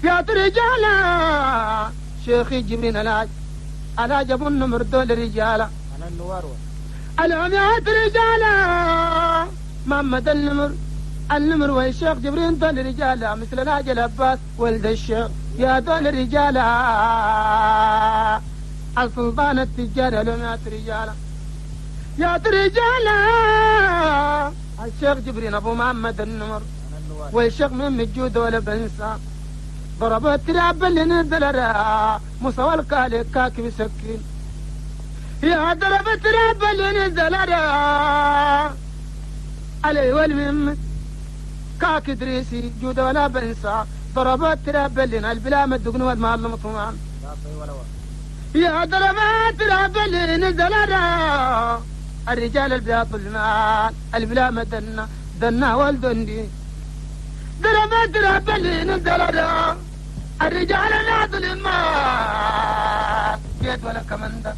يا رجالة شيخي جبرين العاج على جب النمر دول رجالة أنا النوار العم يا رجالة محمد النمر النمر والشيخ جبرين دول رجالة مثل العاج العباس ولد الشيخ يا دول رجالة السلطان التجار العم يا رجالة يا رجالة الشيخ جبرين أبو محمد النمر والشيخ من الجود ولا بنسى ضربت تراب اللي نزل موسى والكالي كاكب سكين يا ضربت تراب اللي نزل علي والمم كاك دريسي جود ولا بنسى ضربت تراب اللي البلا مدقن والمعلم طمان يا ضربت تراب اللي نزل الرجال البياض المال البلا مدنا دنا والدندي ضربت تراب اللي نزل الرجال البياض المال جيت ولا كمندة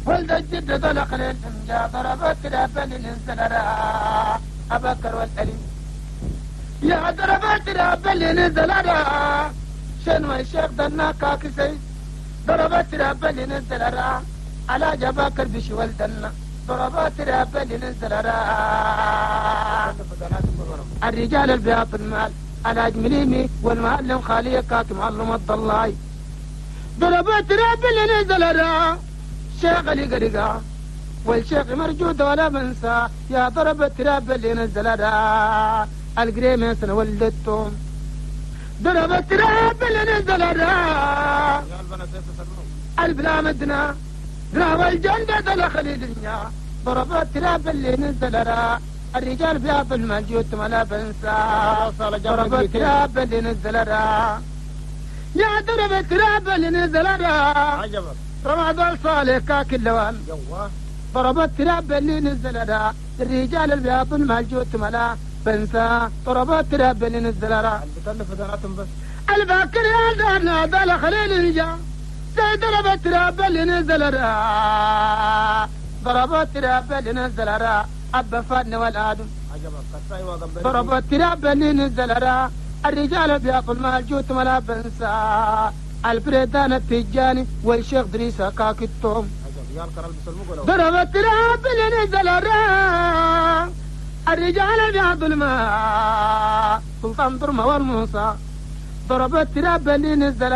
ولد الجد طلق للفنجا ضربت تراب اللي نزل أبكر والأليم يا ضربت تراب اللي نزل شنو الشيخ دنا كاكسي ضربت تراب اللي نزل على جباكر بشي ولدنا ضربات تراب اللي نزل الرجال البياض المال على جمليمي والمعلم خالية كاك معلم الضلاي ضربات تراب اللي نزل شيخ اللي قرقا والشيخ مرجود ولا بنسى يا ضربت تراب اللي نزل القريمة سنة ولدتهم ضربت تراب اللي نزل البلا مدنا راوى الجنة دل خليلنا ضربت تراب اللي نزل الرجال بياض المال ما بنسى ضربت تراب اللي نزل يا ضربت تراب اللي نزل رمضان صالح كاك اللوان ضربت تراب اللي نزل الرجال البياض المال ما بنسى ضربت تراب اللي نزل الباكر يا دارنا دل خليل ضربت تراب اللي نزل ضربت تراب اللي نزل أبا فادن والآدم ضربت تراب اللي نزل الرجال بياكل مال جوت ولا بنسى البريدان التجاني والشيخ دريسة كاك التوم ضربت تراب اللي نزل الرجال بياكل مال سلطان درمة والموسى ضربت تراب اللي نزل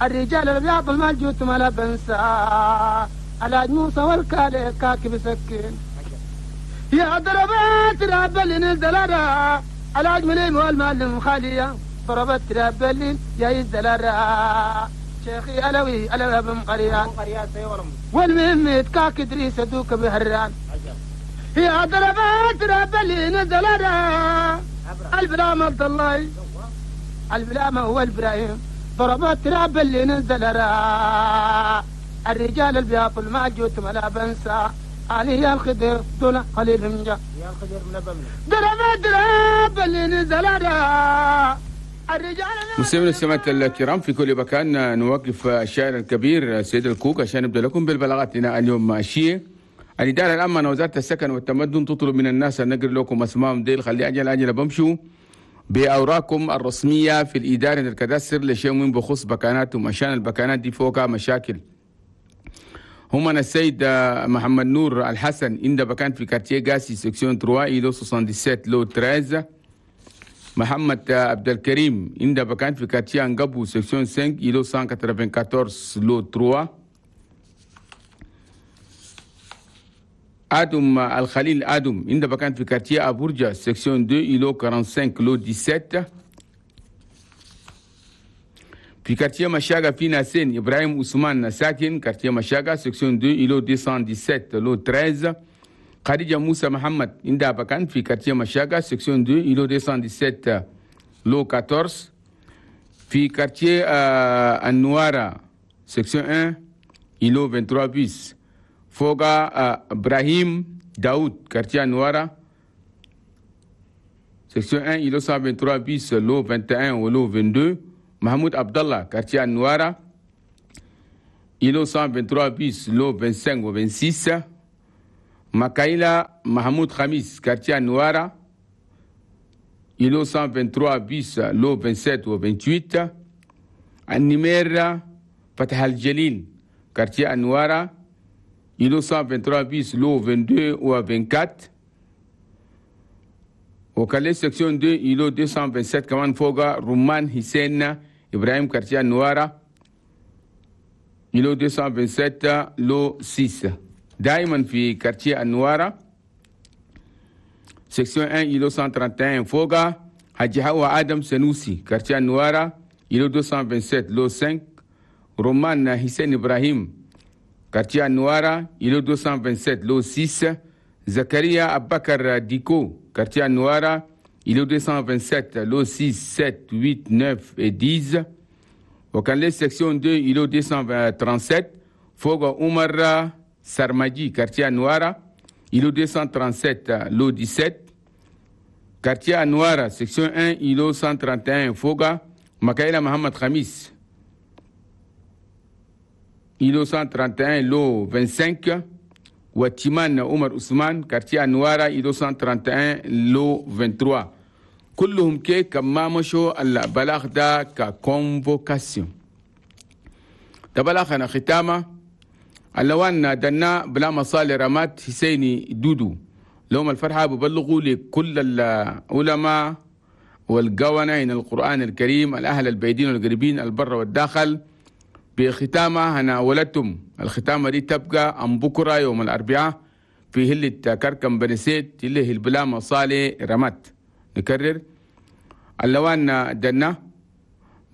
الرجال البياض المال جوت ما لا بنسى على موسى والكالي كاكب سكين يا ضربات تراب اللي نزل على أجملين والمعلم خالية ضربت تراب اللي يا يزل شيخي ألوي ألوي بن قريان والمهم كاك دريس دوك بهران يا ضربات تراب اللي نزل البلام عبد الله البلام هو إبراهيم ضربات تراب اللي نزل الرجال البياض الماجوت ما لا بنسى علي الخضر دون قليل من جا يا الخضر من ضربات تراب اللي نزل الرجال. مستمعينا السماعة الكرام في كل مكان، نوقف الشاعر الكبير سيد الكوك عشان نبدا لكم بالبلاغات لنا اليوم الشيء. الإدارة العامة وزارة السكن والتمدن تطلب من الناس أن نقرأ لكم أسمائهم ديل خلي أجل أجل بمشوا بأوراقكم الرسمية في الإدارة الكدستر لشيء من بخص بكاناتهم عشان البكانات دي فوقها مشاكل. هم السيد محمد نور الحسن عند بكان في quartier قاسي section 3 îlot 77 lot 13. محمد عبد الكريم عند بكان في quartier انقبو section 5 îlot 194 lot 3. آدم الخليل آدم عند بكان في quartier أبورجا section 2 îlot 45 lot 17. في quartier مشاغا في ناسين إبراهيم عثمان ساكن quartier مشاغا section 2 îlot 217 lot 13. خديجة موسى محمد عند بكان في quartier مشاغا section 2 îlot 217 lot 14. في quartier النوارة section 1 îlot 23 bis. فوق إبراهيم داود quartier النوارة section 1 îlot 123 bis lot 21 و lot 22. محمود عبد الله quartier النوارة îlot 123 bis lot 25 و 26. مكايلا محمود خميس quartier النوارة îlot 123 bis lot 27 و 28. النمير فتح الجليل quartier أنوارا îlot 123 bis lot 22 و 24. وكالي section 2 îlot 227 كمان فوق رمان حسين إبراهيم quartier أنوارا îlot 227 lot 6. دائما في quartier أنوارا section 1 îlot 131 فوق حاج حوا آدم سنوسي quartier أنوارا îlot 227 lot 5. رمان حسين إبراهيم quartier أنوارا îlot 227 lot 6. زكريا أبكر ديكو quartier أنوارا îlot 227 lot 6 7 8 9 et 10. وكان لي section 2 îlot 237 فوق عمر سرمجي quartier أنوارا îlot 237 lot 17. quartier أنوارا section 1 îlot 131 فوق مكايلة محمد خميس îlot 131 lot 25. وتيمان عمر عثمان quartier أنوارا îlot 131 lot 23. كلهم كي كما مشوا البلاغ ده ك convocation. ده بلاغ أنا ختامة اللوان دنا بلا مصالح رمات حسيني دودو لهم الفرحة ببلغوا لكل العلماء والقوانين القرآن الكريم الأهل البعيدين والقريبين البر والداخل بختامة هنا ولدتم. الختامة دي تبقى أم بكرة يوم الأربعاء في هلة كركم بنسيت اللي هي البلا مصالح رمات. نكرر اللوان دنا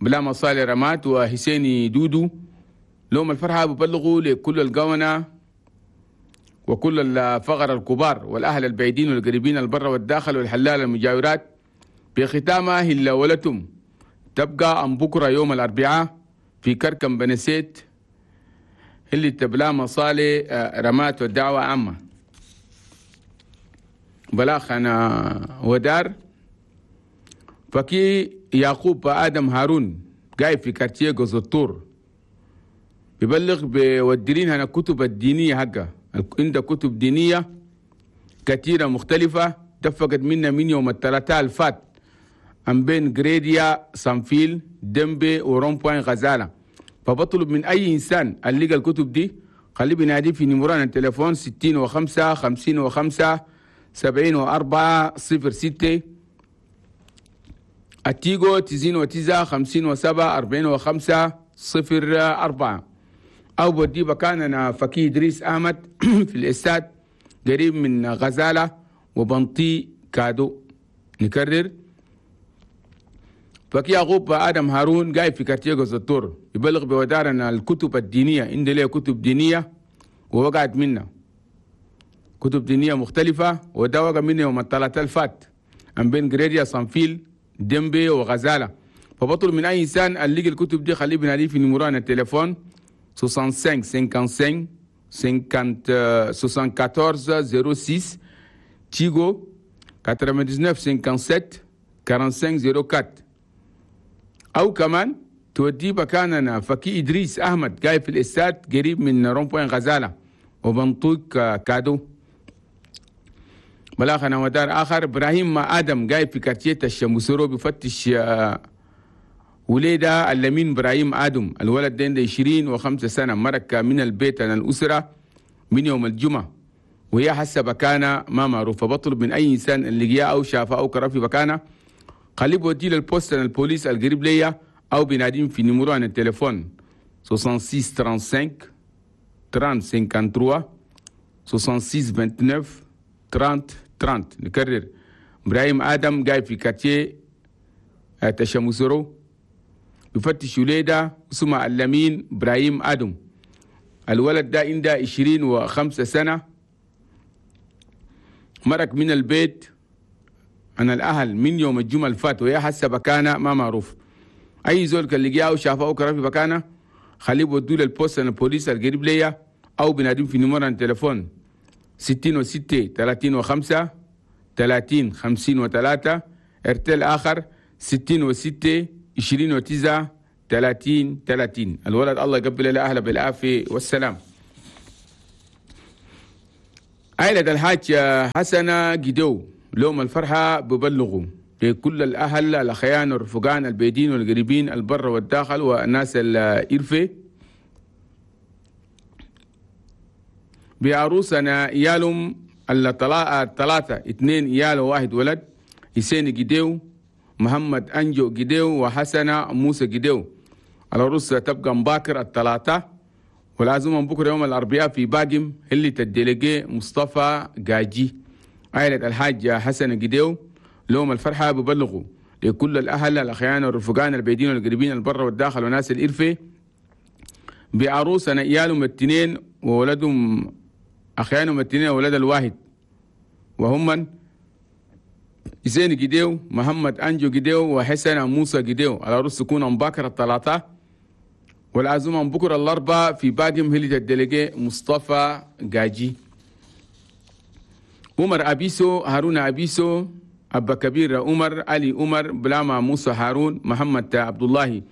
بلا مصالح رمات وحسيني دودو لهم الفرحة ببلغوا لكل القونة وكل الفقر الكبار والأهل البعيدين والقريبين البر والداخل والحلال المجاورات بختامة هلا ولتم تبقى أم بكرة يوم الأربعاء في كركم بنسيت اللي تبلا مصالح رمات والدعوة عامة. بلاغ أنا ودار فكي يعقوب آدم هارون جاي في كارتيه جوزطور بيبلغ بودرين هنا كتب الدينية حقه عنده كتب دينية كثيرة مختلفة دفقت منا من يوم الثلاثاء الفات أم بين جريديا سانفيل دمبي و rond-point غزالة. فبطلب من أي إنسان اللي لقى الكتب دي خليه بينادي في numéro التليفون 65 55 74 06 التيجو 99 57 45 04 أو بودي مكان فكي إدريس أحمد في الإستاد قريب من غزالة وبنطي كادو. نكرر فكي يعقوب آدم هارون جاي في quartier جوزطور يبلغ بودارنا الكتب الدينية عندي ليه كتب دينية ووقعت منا كتب دينية مختلفة وده وقع منا يوم الثلاثاء الفات أم بين جريديا صنفيل دمبي وغزالة. فبطلب من أي إنسان اللي لقى الكتب دي خليه بناديه في numéro التليفون 65 55 50 74 06 تيغو 99 57 45 04 أو كمان تودي مكاننا فكي إدريس أحمد جاي في الإستاد قريب من rond-point غزالة وبنطوق كادو. بلاغنا ودار آخر إبراهيم آدم جاي في quartier الشمسورو بفتش وليدة اللمين إبراهيم آدم الولد ده عنده 25 سنة مرك من البيت عن الأسرة من يوم الجمعة وهي حسب مكانه ما معروفة. بطلب من أي إنسان اللي جاء أو شافه أو كرر في مكانه خليه بوديه لل poste البوليس القريب ليا أو بناديم في numéro عن التليفون 66 35 30 53 66 29 30 30. نكرر إبراهيم آدم جاي في quartier تشمسرو يفتش وليدة اسمه اللمين إبراهيم آدم الولد ده عنده 25 سنة مرق من البيت عن الأهل من يوم الجمعة الفات وهي حسب مكانه ما معروف. أي زول كان لقياه وشافه أو كرر في مكانه خليه بودوه لل poste البوليس القريب ليا أو بنادم في numéro التليفون 66 35 30 53 ارتل آخر 66 29 30 30. الولد الله يقبل له أهله بالعافية والسلام. عائلة الحاج حسنة جدو لهم الفرحة ببلغوا لكل الأهل الأخيان والرفقان البيدين والقريبين البر والداخل والناس الإرفة بعروسنا يالهم الثلاثة 2 يالو 1 ولد حسين جديو محمد أنجو جديو وحسنة موسى جديو. العروس تبقى مباكر الثلاثة والعزومة بكرة يوم الأربعاء في باقم اللي تدلقي مصطفى جاجي. عائلة الحاج حسن جديو لهم الفرحة ببلغوا لكل الأهل الأخيان والرفقان البيدين والقريبين البر والداخل وناس الإرفة بعروسنا إيالهم 2 وولدهم أخيانهم 2 وولد الواحد وهم من زين جديو محمد أنجو جديو وحسن موسى جديو. العروس تكون مباكر الثلاثة والعزومة بكرة الأربعاء في باقم هلة الدلقي مصطفى جاجي. عمر أبيسو هارون أبيسو أبا كبير عمر علي عمر بلاما موسى هارون محمد عبد الله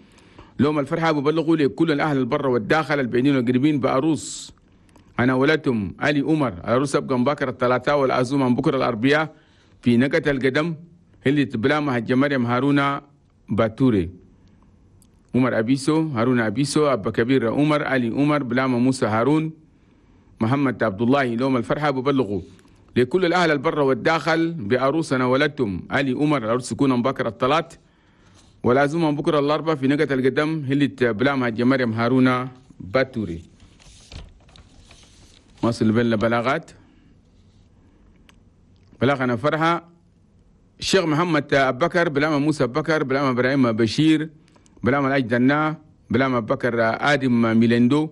لهم الفرحة ببلغوا لكل الأهل البر والداخل البعيدين والقريبين بعروس أنا ولدتم علي عمر. العروس أبقى مباكر الثلاثاء والعزومة بكرة الأربعاء في نقة القدم اللي بلاما هج مريم هارون باتوري. عمر أبيسو هارون أبيسو أبا كبير عمر علي عمر بلاما موسى هارون محمد عبد الله لهم الفرحة ببلغوا لكل الأهل البر والداخل بعروسنا ولدتم علي عمر. العروس تكون مباكر الثلاث والعزومة بكرة الأربعاء في نقة القدم اللي بلاما هج مريم هارون باتوري. واصل بين بلاغات بلاغنا فرحة الشيخ محمد أبكر بلاما موسى أبكر بلاما إبراهيم بشير بلاما الأجدنا بلاما بكر آدم ميلندو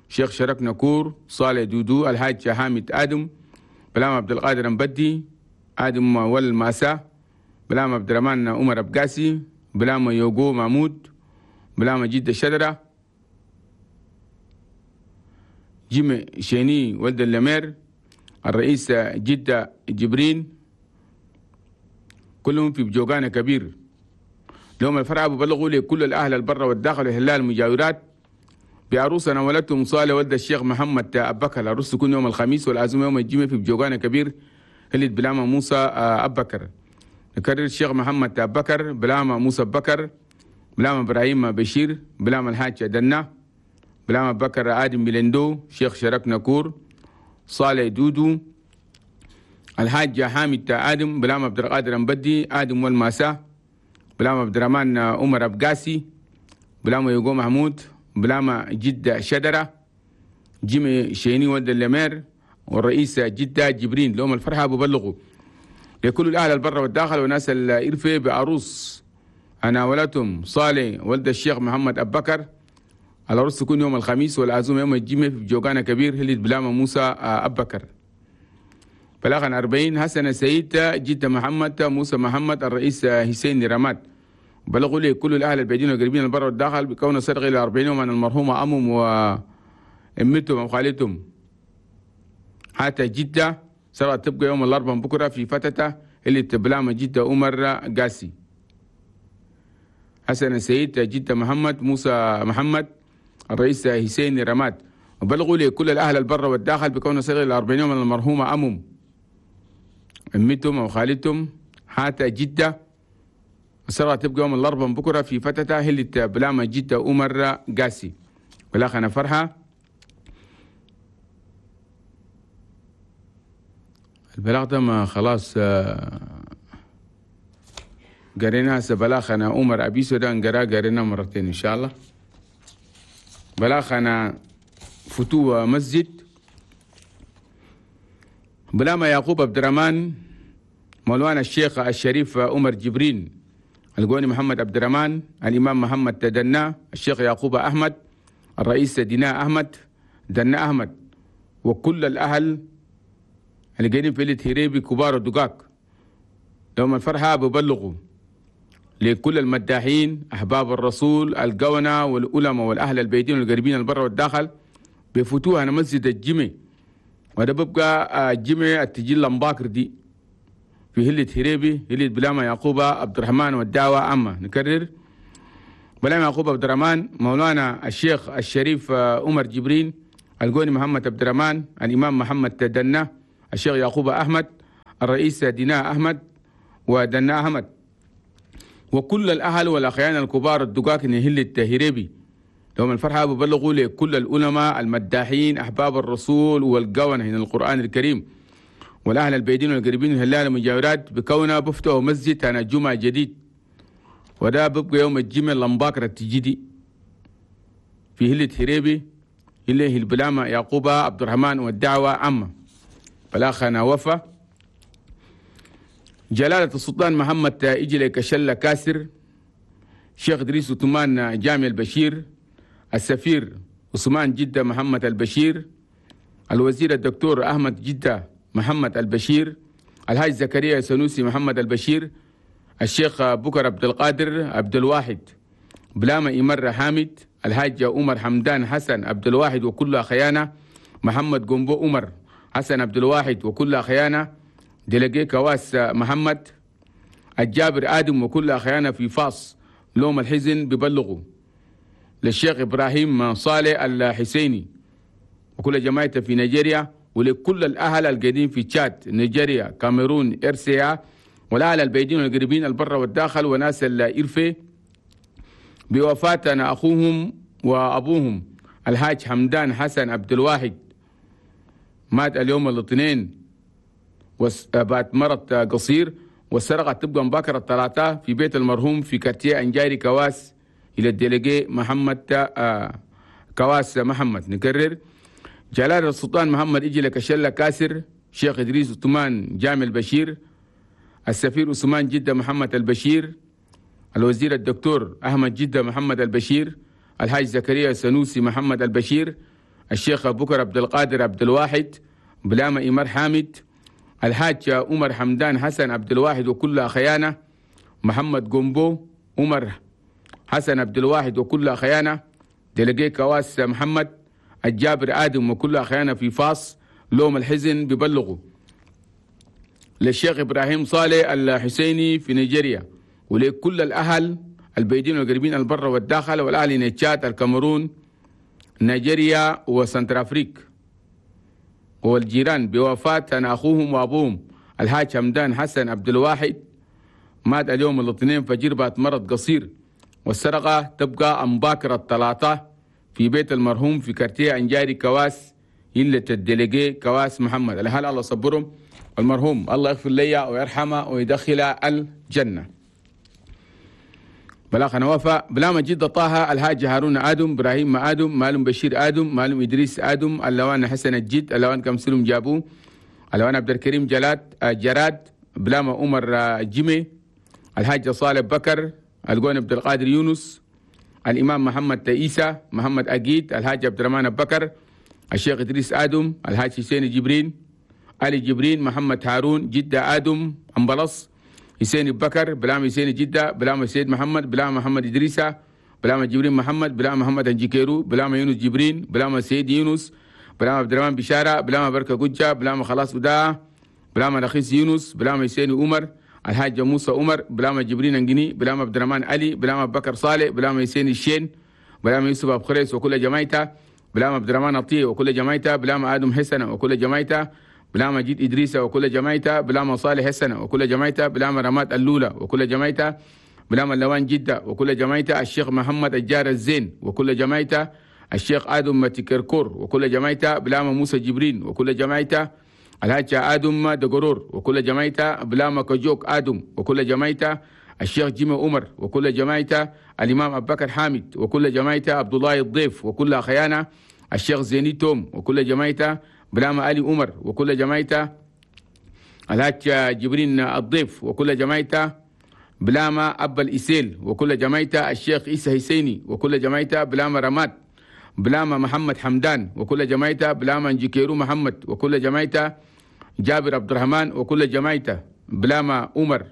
شيخ شرك نكور صالح دودو الحاج حامد آدم بلاما عبد القادر مبدي آدم والماسا بلاما عبد الرحمن عمر أبقاسي بلاما يوغو محمود بلاما جد الشجرة جيمي شيني ولد اللمير الرئيس جدة جبرين كلهم في بجوغانا كبير. لهم الفرع ببلغوا لكل الأهل البر والداخل والهلال المجاورات بعروسنا ولدتهم صالح ولد الشيخ محمد أبكر. العروس تكون يوم الخميس والعزومة يوم الجمعة في بجوغانا كبير هلت بلاما موسى أبكر. نكرر الشيخ محمد أبكر بلاما موسى أبكر بلاما إبراهيم بشير بلاما الحاج دنا بلاما بكر آدم ميلندو شيخ شرك نكور صالح دودو الحاج حامد آدم بلاما عبد القادر مبدي آدم والماسا بلاما عبد الرحمن عمر أبقاسي بلاما يوغو محمود بلاما جدة شدرة جيمي شيني ولد اللمير والرئيس جدة جبرين. لهم الفرحة ببلغوا لكل الأهل البر والداخل وناس الإرفة بعروس أنا ولدتهم صالح ولد الشيخ محمد أبكر. العروس تكون يوم الخميس والعزومة يوم الجمعة في جوغانا كبير هلت بلاما موسى أبكر. بلاغا 40 حسن سيد جدة محمد موسى محمد الرئيس حسين رماد. بلغوا لي كل الأهل البعيدين والقريبين البر والداخل بكون صدق إلى 40 يوم عن المرحومة أمهم وأمتهم وخالتهم حتى جدة سرعة تبقى يوم الأربعاء بكرة في فتتة اللي تبلاما جدة عمر قاسي. حسن سيد جدة محمد موسى محمد الرئيس حسين رماد. وبلغوا لكل الأهل البر والداخل بكون صغير 40 يوم من المرحومة أمهم أمتهم أو خالتهم حتى جدة السرعة تبقى يوم الأربعاء بكرة في فتتة هلت بلاما جدة عمر قاسي. بلاغنا فرحة البلاغ ده ما خلاص قريناها بلاغنا عمر أبيسو ده انقرا قرينا مرتين إن شاء الله. بلاغنا فتوى مسجد بلاما يعقوب عبد الرحمن مولانا الشيخ الشريف عمر جبرين القوني محمد عبد الرحمن الإمام محمد تدنا الشيخ يعقوب أحمد الرئيس دينا أحمد دنا أحمد وكل الأهل اللي قاعدين في الهريبي كبار ودقاق. لهم الفرحة ببلغوا لكل المداحين أحباب الرسول القونة والعلماء والأهل البيتين والقريبين البر والداخل بفتوها مسجد الجمع وده ببقى الجمع التجيل لمباكر دي في هلة هريبي هلة بلاما يعقوب عبد الرحمن والدعوة عامة. نكرر بلاما يعقوب عبد الرحمن مولانا الشيخ الشريف عمر جبرين القوني محمد عبد الرحمن الإمام محمد تدنا الشيخ يعقوب أحمد الرئيس دينا أحمد ودنا أحمد وكل الأهل والأخيان الكبار الدقاق نهل التهريبي لهم الفرحة ببلغوا لكل العلماء المداحين أحباب الرسول والقون هنا القرآن الكريم والأهل البيدين والقريبين الهلال المجاورات بكونها بفتحوا مسجد أنا جمعة جديد، وده ببقى يوم الجمعة لمباكرة التجدي في هلة هريبي إليه البلامة يعقوب عبد الرحمن والدعوة عامة. بلاخنا وفا جلالة السلطان محمد إجلي كشلة كاسر، شيخ إدريس عثمان جامع البشير، السفير عثمان جدة محمد البشير، الوزير الدكتور أحمد جدة محمد البشير، الحاج زكريا سنوسي محمد البشير، الشيخ بكر عبد القادر عبد الواحد، بلامة إمر حامد، الحاج عمر حمدان حسن عبد الواحد وكل خيانة، محمد قنبو عمر حسن عبد الواحد وكل خيانة، دلقي كواس محمد، الجابر آدم وكل خيانة في فاس لوم الحزن ببلغوا للشيخ إبراهيم صالح الحسيني وكل جماعته في نيجيريا، ولكل الأهل القديم في تشاد، نيجيريا، كاميرون، إرسيا، والأهل البعيدين والقريبين البر والداخل وناس الإرفي بوفاة أخوهم وأبوهم الحاج حمدان حسن عبد الواحد، مات اليوم الاثنين بعد مرض قصير، والسرقة تبقى مبكرة الثلاثاء في بيت المرحوم في كارتيه أنجاري كواس إلى الديليجي محمد كواس محمد. نكرر جلال السلطان محمد إجلة كشلة كاسر، شيخ إدريس عثمان جامع البشير، السفير عثمان جدة محمد البشير، الوزير الدكتور أحمد جدة محمد البشير، الحاج زكريا سنوسي محمد البشير، الشيخ بكر عبد القادر عبد الواحد، بلامة إمر حامد، الحاج عمر حمدان حسن عبد الواحد وكل خيانة، محمد قنبو عمر حسن عبد الواحد وكل خيانة، دلقي كواس محمد، الجابر آدم وكل خيانة في فاس لوم الحزن ببلغوا للشيخ إبراهيم صالح الحسيني في نيجيريا، ولكل الأهل البيدين والقريبين البر والداخل والأهل تشاد، الكاميرون، نيجيريا وسنترافريك والجيران بوفاة أخوهم وأبوهم الحاج حمدان حسن عبد الواحد، مات اليوم الاثنين فجر بعد مرض قصير، والسرقة تبقى أمباكرة الثلاثة في بيت المرحوم في كارتيه أنجاري كواس إلة الديليجي كواس محمد. الأهل الله صبرهم، المرحوم الله يغفر لي ويرحمه ويدخله الجنة. بلاغ نوفا بلا مجيد طه الحاج هارون آدم، إبراهيم آدم، مالم بشير آدم، مالم إدريس آدم، اللوان حسن الجد، اللوان كمسلم جابو، اللوان عبد الكريم جلاد جراد، بلاما عمر جيمي، الحاج صالح بكر، القون عبد القادر يونس، الإمام محمد تيسا، محمد أجيد، الحاج عبد الرحمن بكر، الشيخ إدريس آدم، الحاج حسين جبرين، علي جبرين، محمد هارون، جدة آدم، أمبلص، حسين بكر، بلام حسين جدة، بلام سيد محمد، بلام محمد إدريسة، بلام جبرين محمد، بلام محمد أنجيكيرو، بلام يونس جبرين، بلام سيد يونس، بلام عبد الرحمن بشارة، بلام بركة قجة، بلام خلاص وداع، بلام رخيص يونس، بلام حسين عمر، الحاج موسى عمر، بلام جبرين أنجني، بلام عبد الرحمن علي، بلام بكر صالح، بلام حسين الشين، بلام يوسف أبو خريس وكل جماعته، بلام عبد الرحمن عطية وكل جماعته، بلام آدم حسن وكل جماعته، بلام مجيد إدريس وكل جماعته، بلام صالح حسن وكل جماعته، بلام رماد اللولة وكل جماعته، بلام اللوان جدة وكل جماعته، الشيخ محمد الجار الزين وكل جماعته، الشيخ آدم متكركور وكل جماعته، بلام موسى جبرين وكل جماعته، الحاج آدم دقرور وكل جماعته، بلام كجوك آدم وكل جماعته، الشيخ جيمي عمر وكل جماعته، الإمام أبو بكر حامد وكل جماعته، عبد الله الضيف وكل خيانة، الشيخ زيني توم وكل جماعته، بلام علي عمر وكل جماعته، الحاج جبرين الضيف وكل جماعته، بلام أبا الإسيل وكل جماعته، الشيخ عيسى حسيني وكل جماعته، بلام رماد، بلام محمد حمدان وكل جماعته، بلام انجيكيرو محمد وكل جماعته، جابر عبد الرحمن وكل جماعته، بلام عمر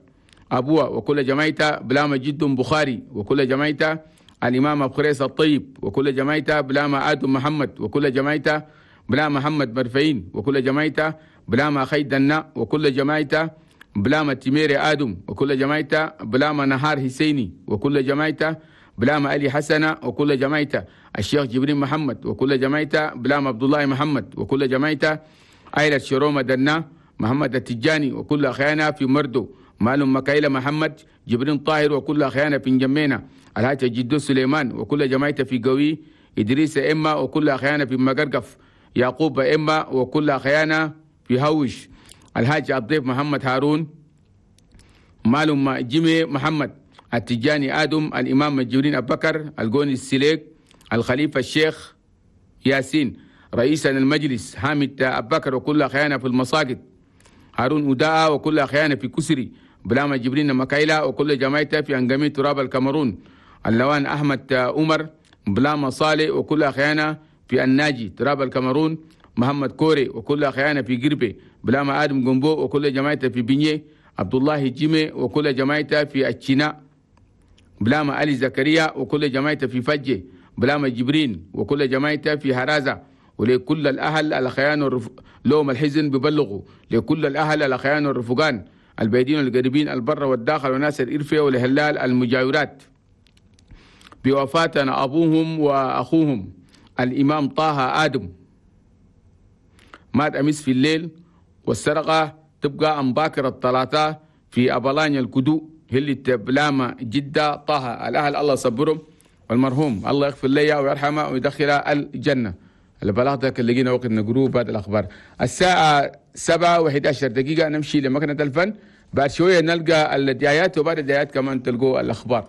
أبوه وكل جماعته، بلام جد بخاري وكل جماعته، الإمام أبو خريس الطيب وكل جماعته، بلام آدم محمد وكل جماعته، بلام محمد مرفعين وكل جماعته، بلام أخي دنا وكل جماعته، بلام تيميري آدم وكل جماعته، بلام نهار حسيني وكل جماعته، بلام علي حسنة وكل جماعته، الشيخ جبرين محمد وكل جماعته، بلام عبد الله محمد وكل جماعته، عائلة شرومة دنا محمد التجاني وكل أخيانا في مردو، مالهم مكايلة محمد، جبرين طاهر وكل أخيانا في جمينا، الحاج جدو سليمان وكل جماعته في قوي، إدريس إما وكل أخيانا في مقرقف، يعقوب إما وكل أخيانا في هوش، الحاج الضيف محمد هارون، مالهم جيمي محمد، التجاني آدم، الإمام جبرين أبو بكر، القوني السليك، الخليفة الشيخ ياسين، رئيسا المجلس حامد أبو بكر وكل أخيانا في المساجد، هارون أداء وكل أخيانا في كسري، بلاما جبرين مكايلا وكل جماعته في أنجمي تراب الكاميرون، اللوان أحمد عمر، بلاما صالح وكل أخيانا في الناجي تراب الكاميرون، محمد كوري وكل أخيانا في قربي، بلاما آدم جنبو وكل جماعته في بنيه، عبد الله جيمي وكل جماعته في الشناء، بلاما علي زكريا وكل جماعته في فجة، بلاما جبرين وكل جماعته في هرازة. ولكل الأهل الأخيان لهم الحزن ببلغوا لكل الأهل الأخيان والرفقان البعيدين والقريبين البر والداخل وناس الإرفية والهلال المجاورات بوفاتنا أبوهم وأخوهم الإمام طه آدم، مات أمس في الليل، والسرقة تبقى أم باكر الثلاثة في أبلانيا الكدو هلي بلاما جدة طه. الأهل الله صبرهم، والمرحوم الله يغفر لي ويرحمه ويدخله الجنة. البلاغ ده اللي لقينا وقت نقروه بعد الأخبار. الساعة 7:11 نمشي لمكنة الفن، بعد شوية نلقى الدعايات، وبعد الدعايات كمان تلقوا الأخبار.